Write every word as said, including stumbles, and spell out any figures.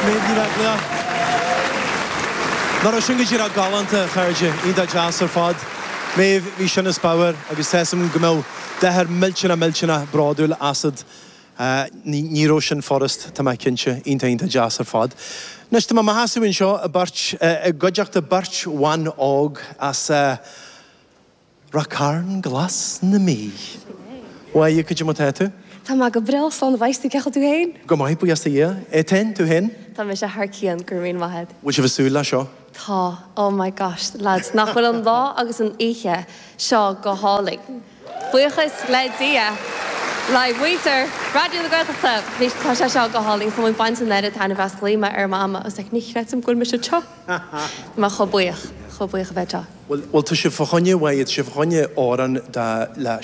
Méabh Ní Bheaglaoich. Nach raibh sin go díreach galánta, a chairde, iontach deas ar fad. Méabh, bhí sin as pabhar agus tá 'fhios a'm go mbeadh d'athair millteanach millteanach bródúil asat. Ní raibh sin furast, tá mé cinnte, iontach iontach deas ar fad. Anois tá mé i mo sheasamh anseo i beirt, i gcuideachta beirt bhan óg as Ráth Cairn Glas na Mí. Mháire, cad é mar tá tú? Tá mé go breá, slán a bheas tú, cén chaoi tú féin? Go maith, buíochas do Dhia. Étain, tú féin? Tá mise thar cionn, go raibh míle maith agat. Bhfuil sibh ag súil leis seo? Tá, oh my gosh, lads, nach bhfuil an lá agus an oíche seo go hálainn? Buíochas le Dia, le muintir Raidió na Gaeltachta, bhí, tá sé seo go hálainn, tá mé ag baint an oiread taitneamh as, ghlaoigh mé ar Mhama, I was like, ní chreidim go bhfuil mise anseo. Tá mé chomh buíoch, chomh buíoch a bheith anseo. Bhuel, bhuel tá sibh fá choinne, bhuel, tá sibh fá choinne amhrán de le Seán